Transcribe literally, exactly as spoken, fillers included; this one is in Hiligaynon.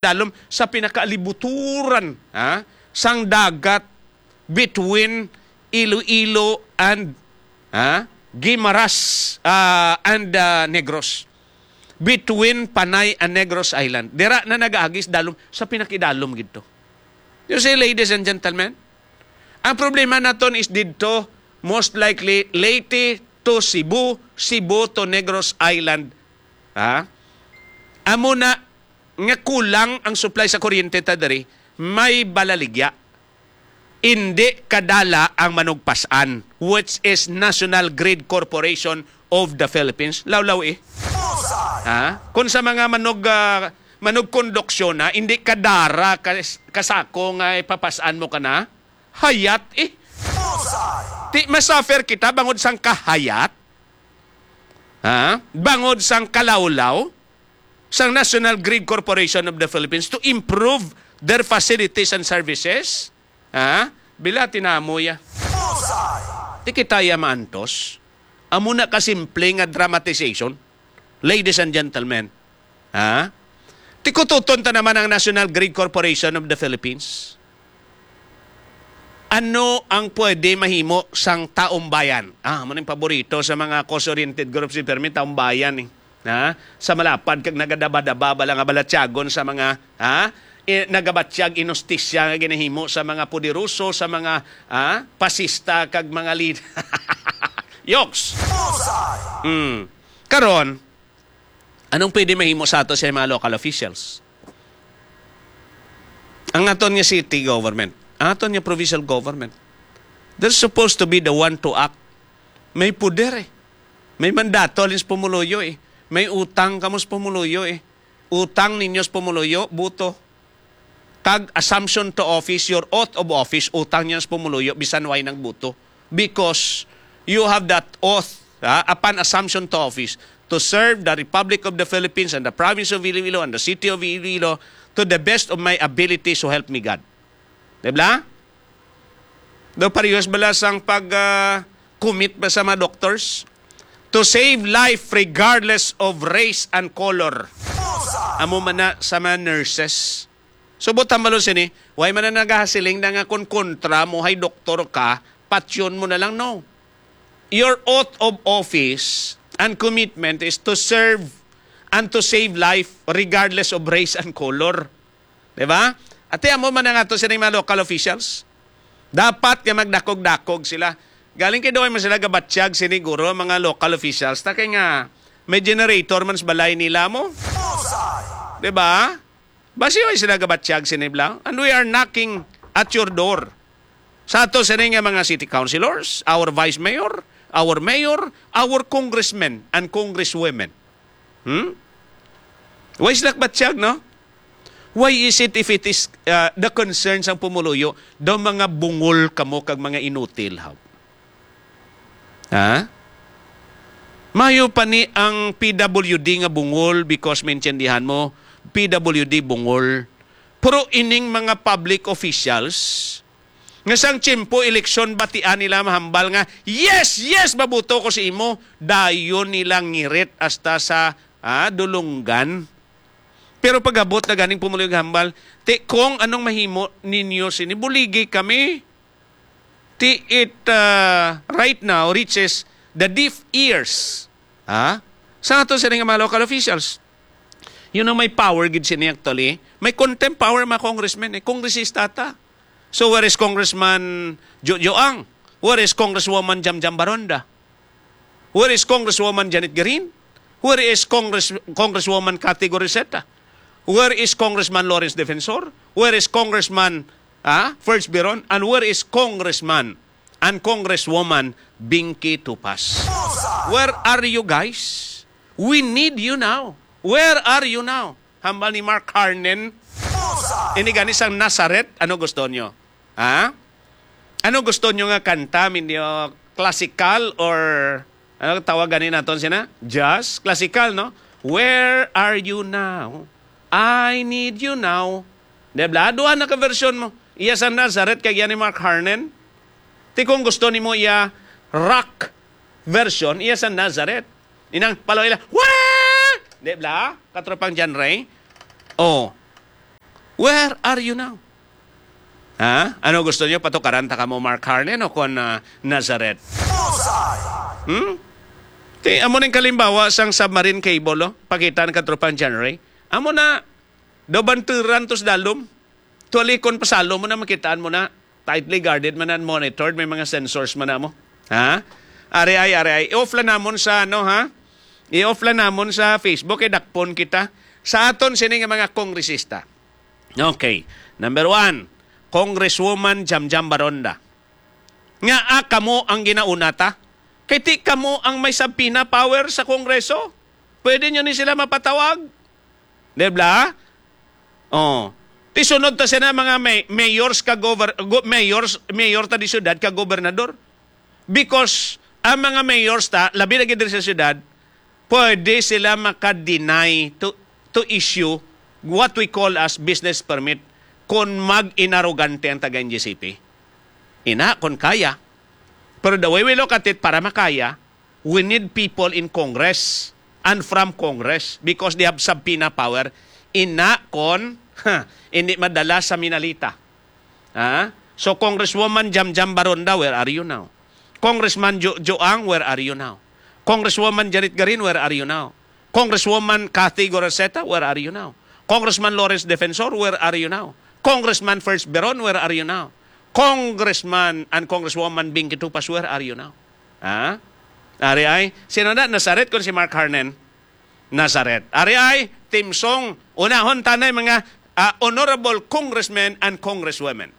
dalom sa pinakalibuturan, ha, sang dagat between Iloilo and, ha, Guimaras, ah, and, ah, Negros. Between Panay and Negros Island. Dira na nagaagis dalom sa pinakidalom gid to. You see, ladies and gentlemen, ang problema naton is didto, most likely, Leyte to Cebu, Cebu to Negros Island. Ha? Amo na nga kulang ang supply sa kuryente ta diri, may balaligya. Indi kadala ang manugpasan, which is National Grid Corporation of the Philippines. Lawlaw eh. Ha? Kung sa mga manug, ah, manugkonduksyon na, indi kadara kas-, kasako nga ipapasan mo ka na, hayat eh. Ti masuffer kita bangod sang kahayat, ha? Bangod sang kalawlaw sang National Grid Corporation of the Philippines to improve their facilities and services. Ha? Bila tinamo ya. Ti kita ya maantos. Amo na kasimple nga dramatization. Ladies and gentlemen, ha? Tikututon ta naman ang National Grid Corporation of the Philippines. Ano ang pwede mahimo sang taumbayan? Ah, amo ning paborito sa mga cause-oriented groups ni Fermin, taumbayan eh. Ha? Sa malapad kag nagadaba-daba bala nga balatyagon sa mga, ha? I-, nagabatyag inustisya nga ginahimo sa mga poderoso, sa mga, ha? Pasista kag mga lead-, Yoks! Mm. Karon, anong pwede mahimo sa ato sa mga local officials? Ang aton nga city government, ang aton nga provincial government, they're supposed to be the one to act. May poder eh. May mandato halin sa pumuluyo eh. May utang kamo sa pumuluyo eh. Utang ninyo sa pumuluyo, buto. Kag assumption to office, your oath of office, utang ninyo sa pumuluyo, bisan way nagbuto. Because you have that oath, ha, upon assumption to office to serve the Republic of the Philippines and the province of Iloilo and the city of Iloilo to the best of my ability, so help me God. Di ba? Daw parehas bala sang pag, ah, commit ba sa mga doctors? To save life regardless of race and color. Amo man na sa mga nurses. So, buot hambalon sini, way man na nagahasiling na nga kung kontra mo hay doktor ka, patyon mo na lang, no. Your oath of office and commitment is to serve and to save life regardless of race and color. Di ba? Ati amo man ang ato sining mga local officials. Dapat nga magdakog-dakog sila. Galing kay doon man sila gabatyag sini guro ang mga local officials. Ta kay nga may generator man sa balay nila mo. Di ba? Basi way sila gabatyag sini bla. And we are knocking at your door. Sa ato sini nga mga city councilors, our vice mayor, our mayor, our congressmen and congresswomen. Hmm? Way sila batyag, no? Why is it if it is, uh, the concern sang pumuluyo, daw mga bungol kamo kag mga inutil, haw? Ha? Mayo pa ni ang P W D nga bungol because maintindihan mo, P W D bungol. Pero ining mga public officials, nga sang tiyempo eleksyon, batian nila mahambal nga, "Yes, yes, mabuto ko sa imo." Dayon nila ngirit hasta sa, ah, dulunggan. Pero pag-abot na ganing pumuluyo hambal, "Ti, Kong, anong mahimo ninyo sini? Buligi kami." Ti it, ah, right now reaches the deaf ears, ha? Sa ato sini nga mga local officials. Yun ang may power gid sini actually. May contempt power mga congressmen eh. Kongresista ta. So where is Congressman Jojo Ang? Where is Congresswoman Jamjam Baronda? Where is Congresswoman Janet Garin? Where is Congress, Congresswoman Cathy Goriseta? Where is Congressman Lawrence Defensor? Where is Congressman, ah, First Biron? And where is Congressman and Congresswoman Binky Tupas? Where are you guys? We need you now. Where are you now? Hambal ni Mark Harnen. Ini gani sang Nazareth, ano gusto nyo? Ha? Ano gusto nyo nga kanta? Minyo classical or ano tawag gani naton sina? Jazz? Classical, no? Where are you now? I need you now. Di ba? Duha na ka version mo. Iya sa Nazareth kag yan ni Mark Harnen. Ti kung gusto nimo iya rock version, iya sa Nazareth. Inang palaw ila, "Wah!" Di ba? Katropang John Ray. Oh. Where are you now? Ha? Ano gusto niyo? Patukaran ta kamo, Mark Harnen, o kon, ah, Nazareth? Bullseye! Hmm? Ti, amo ning kalimbawa sang submarine cable, oh. Pakita ang katropang January. Amo na, daw banturan to sa dalom. Tualikon pa salom mo na, makitaan mo na. Tightly guarded man and monitored, may mga sensors man na mo. Ha? Ari ay, ari ay. I-off lang namon sa, ano, ha? I-off lang namon sa Facebook, kay dakpon kita. Sa aton sini nga mga kongresista. Okay. Number one, Congresswoman Jamjam Baronda. Nga, ah, kamo ang ginauna ta? Kay ti kamo ang may subpoena power sa Kongreso. Pwede nyo ni sila mapatawag. Di ba? Oh. Ti sunod ta sina mga may, mayors ka gover-, go-, mayors, mayor ta di syudad ka gobernador. Because ang mga mayors ta, labi na gid diri sa syudad, pwede sila maka-deny to, to issue what we call as business permit kung mag-inarogante ang taga-N G C P. Ina, kung kaya. Pero the way we look at it, para makaya, we need people in Congress and from Congress because they have subpoena power. Ina, kon, ha, hindi madala sa Minalita. Ha? So, Congresswoman Jamjam Baronda, where are you now? Congressman Jo-, Joang, where are you now? Congresswoman Janet Garin, where are you now? Congresswoman Cathy Goroseta, where are you now? Congressman Lawrence Defensor, where are you now? Congressman First Beron, where are you now? Congressman and Congresswoman Binky Tupas, where are you now? Ha? Ari ay, sino na? Nazaret kon si Mark Harnen? Nazaret. Ari ay, Team Song, unahon tanay mga, ah, honorable congressmen and congresswomen.